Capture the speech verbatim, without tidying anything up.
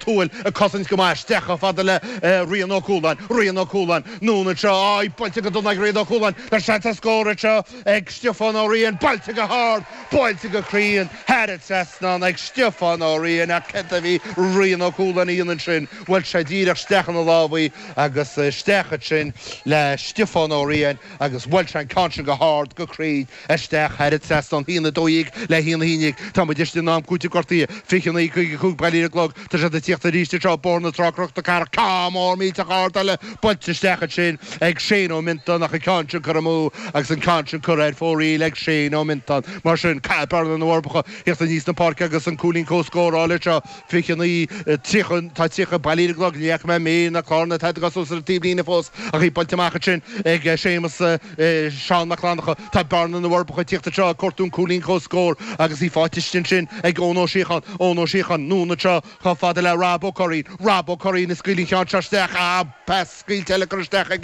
Tuathail ag cosaint go maith isteach chomh fada le Rian Ó Cualáin, Rian Ó Cualáin, anonn anseo, á, í buailte go dona ag Rian Ó Cualáin, tá seans ar scór anseo ag Stiofán Ó Riain, buailte go hard, buailte go cruinn thar an trasnán ag Stiofán Ó Riain ach céard a bhí Rian Ó Cualáin a dhéanamh ansin, bhuail sé díreach isteach ina lámha í agus isteach ansin le Stiofán Ó Riain agus bhuail sé an ceann sin go hard, go cruinn isteach thar an trasnán. Haon a dó dhéag le haon a haon déag. Tá muid istigh in am cúitimh gortaithe. fiche naoi caoga cúig Baile ar an gclog. Tá siad ag tíocht arís anseo Bóthar na Trá Cnoc na Cathrach. Ceann mór millteach ard eile buailte isteach ansin ag Shane Ó Miontáin ach an ceann sin curtha amú agus an ceann sin curtha ar fóraoil ag Shane Ó Miontáin. Mar sin, caithfidh Bearna na bhForbacha thíocht aníos na páirce agus an cúilín comhscórála anseo. fiche naoi, tríocha, tá tríocha Baile ar an gclog, ní fhaca mé méar ná clár ná tada suas ar an taobhlíne fós ach í buailte amach ansin ag Séamus, Seán Mac Fhlannchadha. Tá Bearna na bhForbacha ag tíocht anseo ag cuartú an cúilín comhscóir agus í faighte istigh ansin ag Eoin Ó Síocháin, Eoin Ó Síocháin, anonn anseo chomh fada le Rob Ó Curraoin, Rob Ó Curraoin ag scaoileadh an cheann seo isteach, ah, pas scaoilte eile curtha isteach ag.